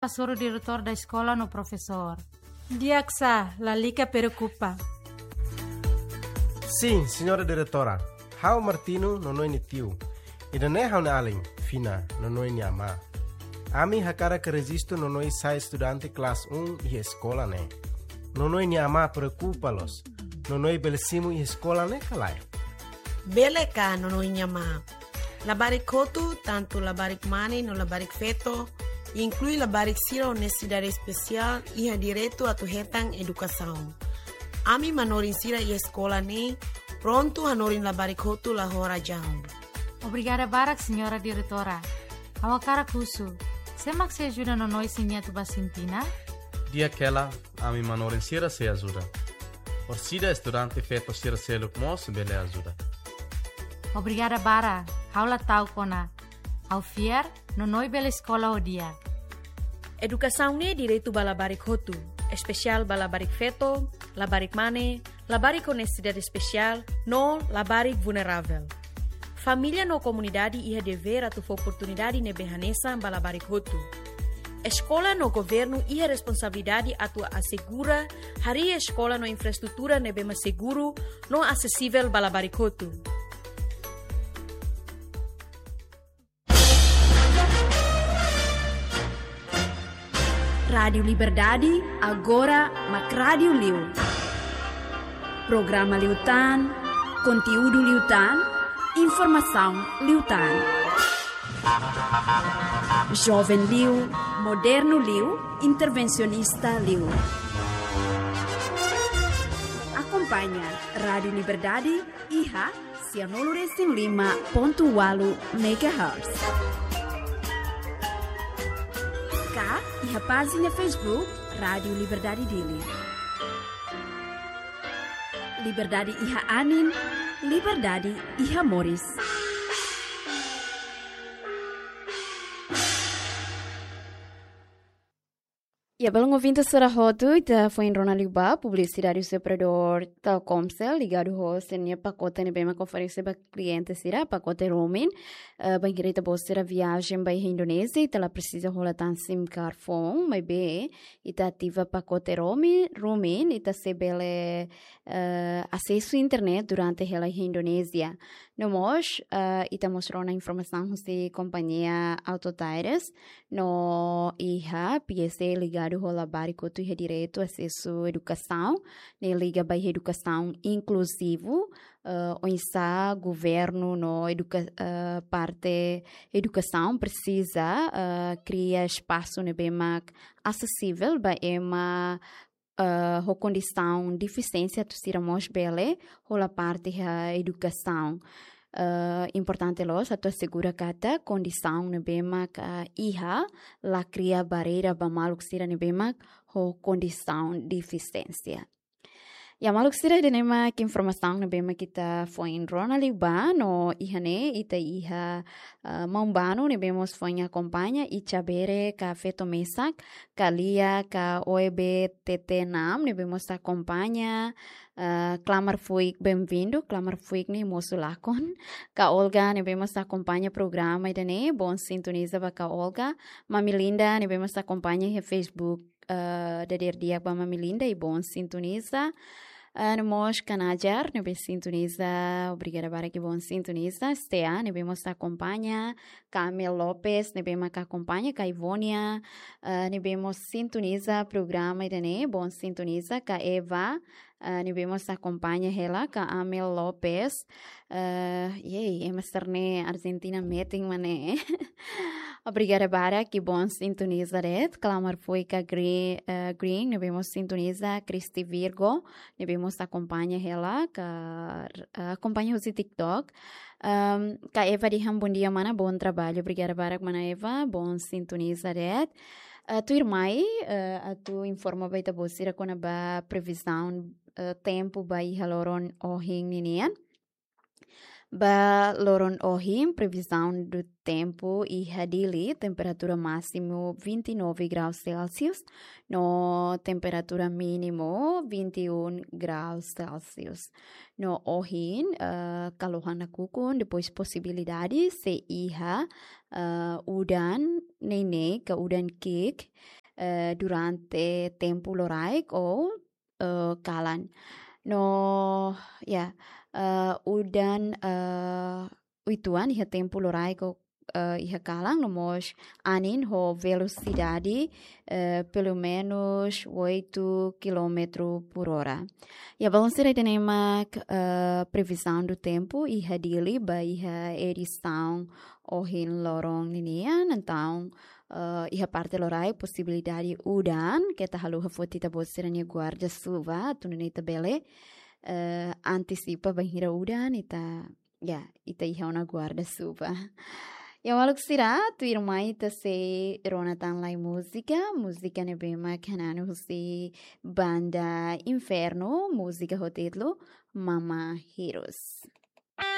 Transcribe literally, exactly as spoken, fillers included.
hasoru diretór da eskola no profesór. Di'ak sá, lalika preokupa. Sin, señora diretora. Ha'u Martino, Nonoe nia tiu. Ida-ne'e ha'u-nia alin, Fina, Nonoe nia amá. Ami hakarak rejistu Nonoe sai estudante kelas um iha eskola ne'e. Nonoe nia amá preokupa loos. Nonoe bele simu iha eskola ne'e ka lae? Bele ka, Nonoe nia amá. Labarik hotu, tantu labarik mane no labarik feto, inklui labarik sira ho nesesidade espesiál, iha direitu atu hetan edukasaun. Ami manorin sira iha eskola ne'e prontu hanorin labarik hotu la ho razaun. Obrigada barak, señora diretora. Ha'u hakarak husu, sé mak sei ajuda Nonoe se nia atu ba Sintina? Di'ak hela, ami manorin sira sei ajuda. Orsida estudante feto sira seluk mós bele ajuda. Obrigada barak, ha'u la ta'uk ona. Ha'u fiar, Nonoe bele eskola ho di'ak. Edukasaun ne'e direitu ba labarik hotu, espesiál ba labarik feto, labarik mane, labarik ho nesesidade espesiál, no labarik vulneravel. Família no komunidade iha devér atu fó oportunidade ne'ebé hanesan ba labarik hotu. Eskola no governu iha responsabilidade atu asegura harii eskola no infraestrutura ne'ebé mak seguru no asesivel ba labarik hotu. Rádiu Liberdade, agora mak rádiu liu. Programa liután, konteúdu liután, informasaun liután. Joven liu, modernu liu, intervensionista liu. Akompaña Rádiu Liberdade iha sianulu resin lima pontu ualu megahertz. Ka iha pájina Facebook Rádiu Liberdade Dili. Liberdade iha anin, liberdade iha moris. Ya, belun ouvinte sira hotu, ita foin rona liu ba publisidade husi operadór Telkomcel, ligadu ho sira-nia pakote ne'ebé mak oferese ba kliente sira, pakote roaming, eh, bainhira ita-boot sira viajen ba iha Indonézia, ita la presiza hola tan SIM card foun, maibé ita ativa pakote roaming, roaming, ita sei bele, eh, asesu internet durante hela iha Indonézia. No mós, eh, ita mós rona informasaun husi kompañia Auto Tires, no iha P S A ligadu ho labarik hotu iha direitu asesu edukasaun, ne'e liga ba edukasaun inkluzivu, eh, oinsá governu no eduka-, eh, parte edukasaun presiza, eh, kria espasu ne'ebé mak asesivel ba ema, eh, ho kondisaun defisiénsia atu sira mós bele hola parte iha edukasaun. Eh, importante loos atu asegura katak kondisaun ne'ebé mak, eh, iha la kria barreira ba maluk sira ne'ebé mak ho kondisaun defisiénsia. Ya maluk sira, ida-ne'e mak informasaun ne'ebé mak ita foin rona liu ba, no iha ne'e ita iha, eh, maun-banu ne'ebé mós foin akompaña, Icha Bere ka feto mesak, ka Lia ka O E B T T enam ne'ebé mós akompaña, eh, Klamar Fuik, bem-vindo, Klamar Fuik ne'e mosu lakon, ka Olga ne'ebé mós akompaña programa ida-ne'e, bom sintoniza ba ka Olga, Mami Linda ne'ebé mós akompaña iha Facebook, eh, dadeer di'ak ba Mami Linda i bom sintoniza. Eh, no mós ka Najar ne'ebé sintoniza, obrigada barak i bom sintoniza. Stea ne'ebé mós akompaña, ka Amel Lopes ne'ebé mak akompaña, ka Ivonia, eh, ne'ebé mós sintoniza programa ida-ne'e, bom sintoniza, ka Eva, eh, ne'ebé mós akompaña hela, ka Amel Lopes, eh, yey, ema sira-ne'e Argentina metin mak ne'e. Obrigada barak i bom sintoniza de'it. Klamar Fuik ka Gre-, eh, Green, ne'ebé mós sintoniza, Christy Virgo, ne'ebé mós akompaña hela, ka, eh, akompaña husi TikTok. Ehm, ka Eva dehan bom dia mana, bom trabalho. Obrigada barak mana Eva, bom sintoniza de'it. Eh, tuirmai, eh, atu informa ba ita-boot sira kona-ba previzaun, eh, tempu ba iha loron ohin ninian. Ba loron ohin, previzaun do tempu iha Dili, temperatura másimu vinte e nove graus Celsius, no temperatura mínimu vinte e um graus Celsius. No ohin, eh, kalohan nakukun, depois posibilidade sei iha, eh, udan neineik ka udan ki'ik, eh, durante tempu loraik ou, eh, kalan. No, ya, eh, udan, eh, uitoan iha tempu loraik ou, eh, iha kalan, no mós anin ho velosidade, eh, pelumenus oito quilómetro por hora. Ya, ba ohin sira ita-nia mak, eh, previzaun do tempu iha Dili ba iha edisaun ohin loron ninian, entaun, eh, iha parte loraik posibilidade udan, keta haluha foti ita-boot sira-nia guarda-chuva, atu nune'e ita bele, eh, antisipa bainhira udan, ita, ya, ita iha ona guarda-chuva. Ya, maluk sira, tuirmai ita sei rona tan lai múzika, múzika ne'ebé mak hananu husi banda Inferno, múzika ho títulu Mama Hirus.